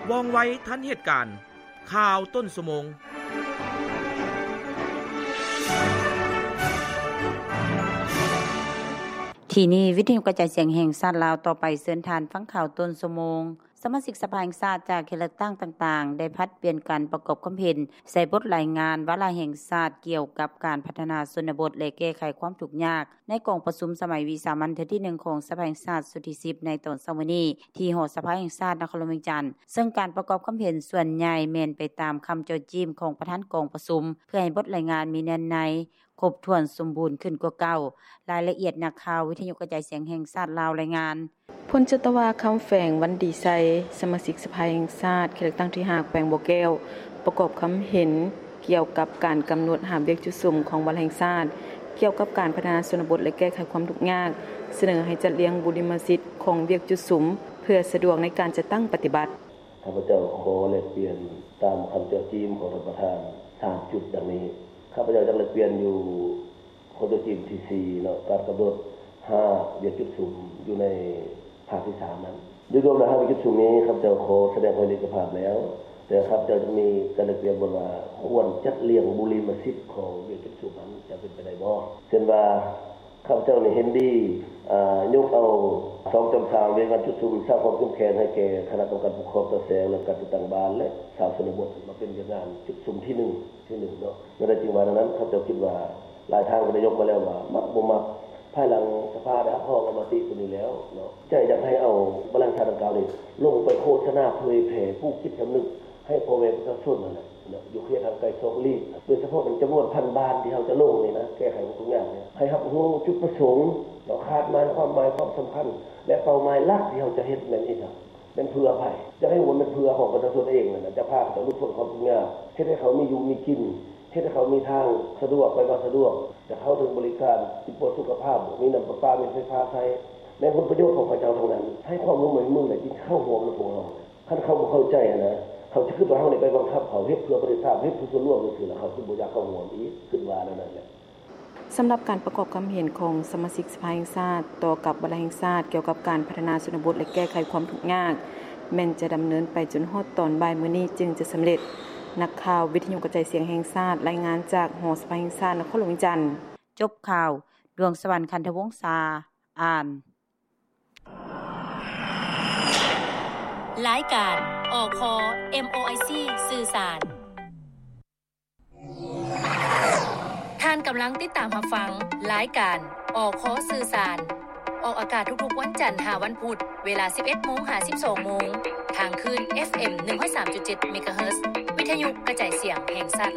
ວ່ອງໄວທັນເຫດການ. ຂ່າວຕົ້ນຊົ່ວໂມງ. ທີ່ນີ້ ວິທະຍຸກະຈາຍສຽງແຫ່ງຊາດລາວ. ຕໍ່ໄປເຊີນທ່ານຟັງຂ່າວຕົ້ນຊົ່ວໂມງ. ສະມາຊິກສະພາແຫ່ງຊາດຈາກເຂດເລືອກຕັ້ງຕ່າງໆ ໄດ້ຜັດປ່ຽນກັນປະກອບຄວາມເຫັນໃສ່ບົດລາຍງານວາລະແຫ່ງຊາດກ່ຽວກັບການພັດທະນາຊົນນະບົດ ແລະ ແກ້ໄຂຄວາມທຸກຍາກ ໃນກອງປະຊຸມສະໄໝວິສາມັນເທື່ອທີໜຶ່ງຂອງສະພາແຫ່ງຊາດຊຸດທີສິບ ໃນຕອນເຊົ້າມື້ນີ້ ທີ່ຫໍສະພາແຫ່ງຊາດນະຄອນຫຼວງວຽງຈັນ. ເຊິ່ງການປະກອບຄຳເຫັນສ່ວນໃຫຍ່ແມ່ນໄປຕາມຄຳເຈາະຈີ້ມຂອງປະທານກອງປະຊຸມ ເພື່ອໃຫ້ບົດລາຍງານມີເນື້ອໃນ ຄົບຖ້ວນສົມບູນຂຶ້ນກວ່າເກົ່າ. ລາຍລະອຽດ ນັກຂ່າວວິທະຍຸກະຈາຍສຽງແຫ່ງຊາດລາວລາຍງານ. ພົນຈັດຕະວາ ຄຳແຝງ ວັນດີໄຊ ສະມາຊິກສະພາແຫ່ງຊາດ ເຂດເລືອກຕັ້ງທີຫ້າ ແຂວງບໍ່ແກ້ວ ປະກອບຄຳເຫັນກ່ຽວກັບການກຳນົດຮາບວຽກຈຸດສຸມຂອງວາລະແຫ່ງຊາດ ກ່ຽວກັບການພັດທະນາຊົນນະບົດ ແລະ ແກ້ໄຂຄວາມທຸກຍາກ, ສະເໜີໃຫ້ຈັດລຽງບູລິມະສິດຂອງວຽກຈຸດສຸມ ເພື່ອສະດວກໃນການຈັດຕັ້ງປະຕິບັດ. ຂ້າພະເຈົ້າຂໍແລກປ່ຽນຕາມຄຳເຈາະຈີ້ມຂອງທ່ານປະທານ ສາມຈຸດດັ່ງນີ້. ຂ້າພະເຈົ້າຢາກແລກປ່ຽນຢູ່ ຂໍ້ຕົວຈີ້ມທີສີ່ເນາະ ການກຳນົດຮາກວຽກຈຸດສຸມຢູ່ໃນພາກທີສາມນັ້ນ. ໂດຍລວມແລ້ວ ຮາກວຽກຈຸດສຸມນີ້ ຂ້າພະເຈົ້າຂໍສະແດງຄວາມເຫັນເອກະພາບແລ້ວ, ແຕ່ຂ້າພະເຈົ້າຈະມີການແລກປ່ຽນບ່ອນວ່າ ຄວນຈັດລຽງບູລິມະສິດຂອງວຽກຈຸດສຸມນັ້ນ ຈະເປັນໄປໄດ້ບໍ່? ເຊັ່ນວ່າ ຂ້າພະເຈົ້ານີ້ເຫັນດີ ອາ ຍົກເອົາສອງຈຳສາມ ວຽກງານຈຸດສຸມ ສ້າງຄວາມເຂັ້ມແຂງໃຫ້ແກ່ຄະນະກຳມະການປົກຄອງຕາແສງ ແລະ ການຈັດຕັ້ງບ້ານ ແລະ ຊາວຊົນນະບົດ ມາເປັນວຽກງານຈຸດສຸມທີໜຶ່ງ ທີໜຶ່ງເນາະ. ແນວໃດຈຶ່ງວ່າແນວນັ້ນ? ຂ້າພະເຈົ້າຄິດວ່າ ຫຼາຍທ່ານກໍໄດ້ຍົກມາແລ້ວວ່າ ມັກບໍ່ມັກ ພາຍຫຼັງສະພາໄດ້ຮັບຮອງເອົາມະຕິຕົວນີ້ແລ້ວເນາະ, ຈະຢາກໃຫ້ເອົາບັນລັງຊາດດັ່ງກ່າວນີ້ ລົງໄປໂຄສະນາເຜີຍແຜ່ ປູກຈິດສຳນຶກ ໃຫ້ພໍ່ແມ່ປະຊາຊົນນັ້ນແຫຼະເນາະ ຢູ່ເຂດຫ່າງໄກສອກຫຼີກ ໂດຍສະເພາະແມ່ນຈຳນວນພັນບ້ານທີ່ເຮົາຈະລົງນີ້ນະ ແກ້ໄຂຄວາມທຸກຍາກນີ້ ໃຫ້ຮັບຮູ້ຈຸດປະສົງເນາະ ຄາດໝາຍ ຄວາມໝາຍ ຄວາມສຳຄັນ ແລະ ເປົ້າໝາຍຫຼັກທີ່ເຮົາຈະເຮັດແມ່ນອີ່ຫຍັງ ແມ່ນເພື່ອໃຜ ຢາກໃຫ້ຮູ້ວ່າແມ່ນເພື່ອຂອງປະຊາຊົນເອງນັ້ນນະ ຈະພາເຂົາເຈົ້າຫຼຸດພົ້ນຄວາມທຸກຍາກ ເຮັດໃຫ້ເຂົາມີຢູ່ມີກິນ ເຮັດໃຫ້ເຂົາມີທາງສະດວກ ໄປມາສະດວກ ຈະເຂົ້າເຖິງບໍລິການ ຈະປວດສຸຂະພາບ ມີນ້ຳປະປາ ມີໄຟຟ້າໃຊ້ ແມ່ນຜົນປະໂຫຍດຂອງເຂົາເຈົ້າທັງນັ້ນ ໃຫ້ຄວາມຮ່ວມມື ແລະ ຈຶ່ງເຂົ້າຮ່ວມນຳພວກເຮົາ. ຄັນເຂົາບໍ່ເຂົ້າໃຈຫັ້ນນະ ເຂົາຈະຄິດວ່າເຮົານີ້ໄປບັງຄັບເຂົາເຮັດເພື່ອປະເທດຊາດ ເຮັດເພື່ອສ່ວນລວມຈັ່ງຊີ້ລະ ເຂົາຊິບໍ່ຢາກເຂົ້າຮ່ວມອີກ ຄິດວ່າແນວນັ້ນແຫຼະ. ສຳລັບການປະກອບຄຳເຫັນຂອງສະມາຊິກສະພາແຫ່ງຊາດຕໍ່ກັບວາລະແຫ່ງຊາດກ່ຽວກັບການພັດທະນາຊົນນະບົດ ແລະ ແກ້ໄຂຄວາມທຸກຍາກ ແມ່ນຈະດຳເນີນໄປຈົນຮອດຕອນບ່າຍມື້ນີ້ຈຶ່ງຈະສຳເລັດ. ນັກຂ່າວວິທະຍຸກະຈາຍສຽງແຫ່ງຊາດ ລາຍງານຈາກຫໍສະພາແຫ່ງຊາດນະຄອນຫຼວງວຽງຈັນ. ຈົບຂ່າວ, ດວງສະຫວັນ ຄັນທະວົງສາ ອ່ານ. ລາຍການ ອຄ ເອັມໂອໄອຊີ ສື່ສານ. ທ່ານກຳລັງຕິດຕາມຮັບຟັງລາຍການ ອຄ ສື່ສານ ອອກອາກາດທຸກໆວັນຈັນຫາວັນພຸດ ເວລາສິບເອັດໂມງຫາສິບສອງໂມງ ທາງຄື້ນ ເອັຟເອັມ ໜຶ່ງຮ້ອຍສາມຈຸດເຈັດ ເມກາເຮີດ ວິທະຍຸກະຈາຍສຽງແຫ່ງຊາດ.